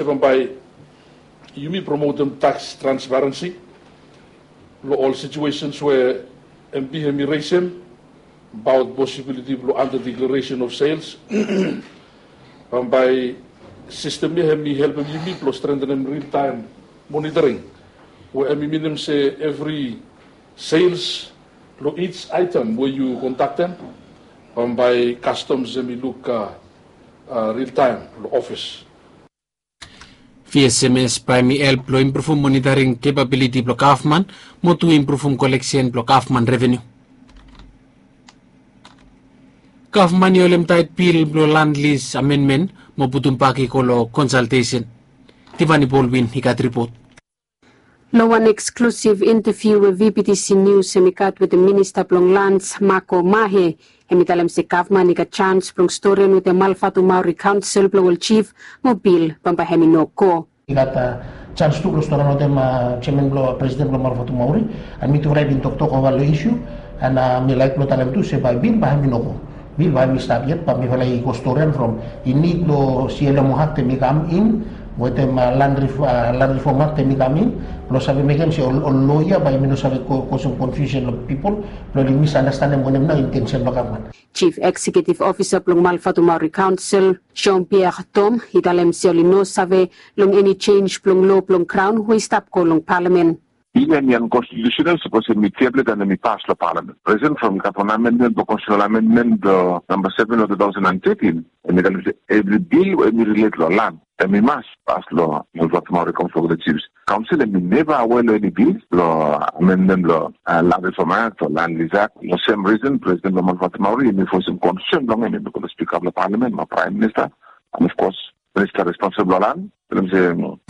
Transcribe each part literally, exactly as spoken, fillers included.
Bambae yumi promotem tax transparency long ol situations we M P hemi resem abaot posibiliti blong under declaration of sales. Bambae sistem ya hemi helpem yumi blong strengthenem real time monitoring, we hemi minim se evri sales long each item we yu kondaktem, bambae customs hemi luk real time long ofis. V S M S bae hemi help blong impruvum monitoring capability blong gavman mo tu impruvum koleksen blong gavman revenu. Gavman i holem taet bil blong land lis amenmen mo putum bak i go long konsaltesen. Tivani Bolwin i gat ripot. Long wan eksklusiv intaviu we V P T C Nius hemi gat wetem minista blong lans Mako Mahe, hemi talem se gavman i gat jans blong storian wetem Malvatumauri kaonsel blong ol jif mo bil bambae hemi no go. I gat jans tu blong storian wetem jeaman blong presiden blong Malvatumauri, an mi tu raet i bin toktok ova long isiu, an mi laek blong talem tu se bae bil bae hemi no go. Bil bae hemi stap yet, bae mifala i go storian from i nid blong C L M O Act hemi kam in wetem land rifom Act hemi kam in blong save mekem se ol loya bae hemi no save kosem konfiusen long pipol blong oli misandastanem wanem nao intensen blong gavman. Jif Eksekiutiv Ofisa blong Malvatumauri Kaonsel, Jean Pierre Tom, i talem se oli no save long eni jenj blong loa blong graon we i stap go long palamen. Bil ya hemi ankonstitiusenal sapos hemi teblet an hemi pas long palamen. Risen from i gat wan amendmen blong konstitiusenal amendmen blong namba seven long two thousand and thirteen, hemi talem se evri bil we hemi rilet long lan hemi mas pas long Malvatumauri Kaonsel. Kaonsel hemi neva aware long eni bil blong amendmen blong Land Reform Act o Land Lease Act. Long sem risen presiden blong Malvatumauri hemi voesem konsern blong hem, hemi go long spika blong palamen mo praem minista, an of kos minista responsibol long lan. Talem se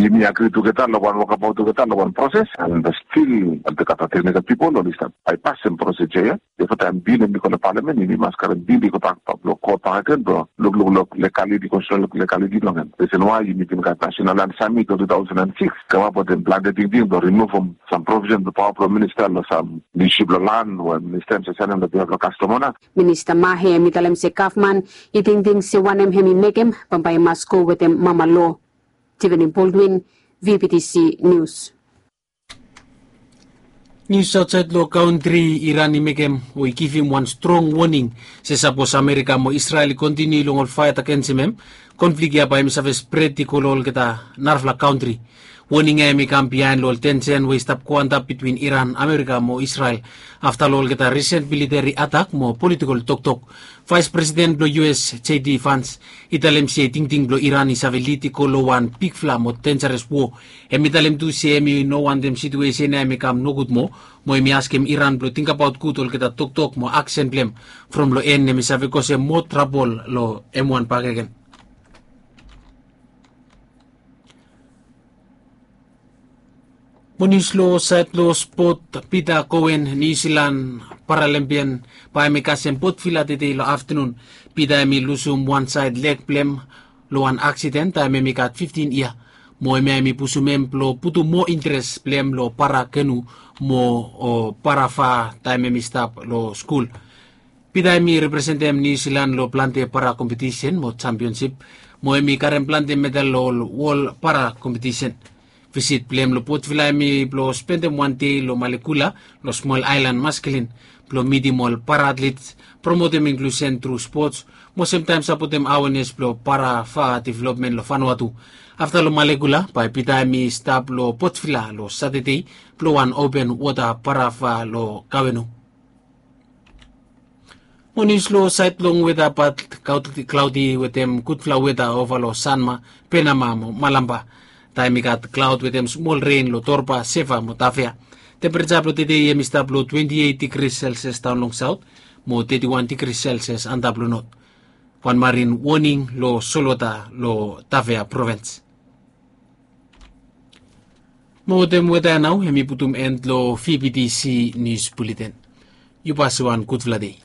yumi agri tugeta long wan wokabaot tugeta long wan proses, an stil olgeta teknikal pipol oli stap baepasem proseja ya. Bifo taem bil hemi go long palamen, yumi mas karem bil i go bak blong kot bakegen blong lukluk long legaliti, konstitiusenal legaliti blong hem. Risen wae yumi bin gat Nasenal Land Samit long two thousand and six, kamap wetem plante tingting blong rimuvum sam provisen blong paoa blong minista long sam isu blong lan we minista hemi save saenem long bihaf blong kastom ona. Minista Mahe hemi talem se gavman i tingting se wanem hemi mekem bambae i mas go wetem mama loa. Tivani Bolwin, V P T C Nius. Nius aotsaed long kantri, Iran i mekem o i givim wan strong woning se sapos Amerika mo Israel i kontiniu long ol faet agensem hem, konflik ya bae hemi save spret i go long olgeta narafala kantri. Woning ya hemi kam biaen long ol tensen we i stap go antap bitwin Iran, Amerika mo Israel afta long olgeta risen militeri atak mo politikol toktok. Vaes Presiden blong U S, J D Vance, i talem se tingting blong Iran i save lid i go long wan bigfala mo denjares wo. Hemi talem tu se hemi no wantem situesen ya hemi kam nogud moa, mo hemi askem Iran blong tingbaot gud olgeta toktok mo aksen blong hem, from long en hemi save kosem moa trabol long hem wan bakegen. Mo nius long saed blong spot, Peter Coen, Niu Silan paralimpian, bae hemi kasem botvila tedei long aftenun. Peter hemi lusum wan saed leg blong hem long wan aksiden taem hemi gat fiftin yia. Mo hemia hemi pusum hem blong putum moa interes blong hem long para kenu mo para va taem hemi stap long skul. Peter hemi representem Niu Silan long plante para kompetisen mo jampionsip, mo hemi karem plante medal long ol wol para kompetisen. Visit blong hem long botvila hemi blong spendem wan dei long Malekula, long smol aelan Maskilin, blong mitim ol para atlets, promotem inklusen tru spots, mo semtaem sapotem awenes blong para va developmen long Vanuatu. Afta long Malekula bae Peter hemi stap long botvila long Satade blong wan open wota para va long Kawenu. Mo nius long saed blong weta, pat klaodi wetem gudfala weta ova long Sanma, Penama mo Malamba. Taem i gat klaod wetem smol ren long Torba, Seva mo Tavea. Tempereja blong tedei hemi stap long twenti eit digri Celsius daon long saot mo teti wan digri Celsius antap long not. Wan marin woning long solwota long Tavea provens. Mo wetem weta ya nao hemi putum en long V P T C Nius Buleten. Yu pasim wan gudfala dei.